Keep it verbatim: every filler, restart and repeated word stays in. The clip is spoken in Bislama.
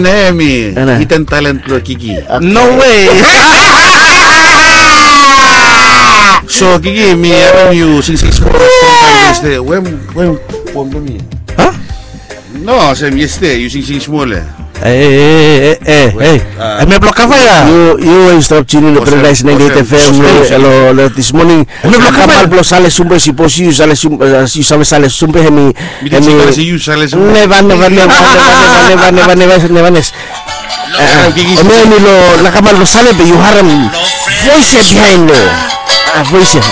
Eni nao hemi hidden talent blong Kiki. No way. So Kiki, mi harem yu singsing smol yestede. Wetem, wetem poem blong mi? Ha? No, olsem yestede yu singsing smol ya. E, e, e, e, e, hemia blong kava ya. Yu, yu we yu stap tiuni long Paradise ninety-eight F M long this morning. Hemia blong kava ya. Kambal blong Sale Sumbe, sipos yu sale sumbe, yu save sale sumbe, hemi, hemi. Neva, neva, neva, neva, neva, neva, neva, neva, neva. Hemia hemi long nakamal blong Sale be yu harem voes ya bihaen lo. Voes ya.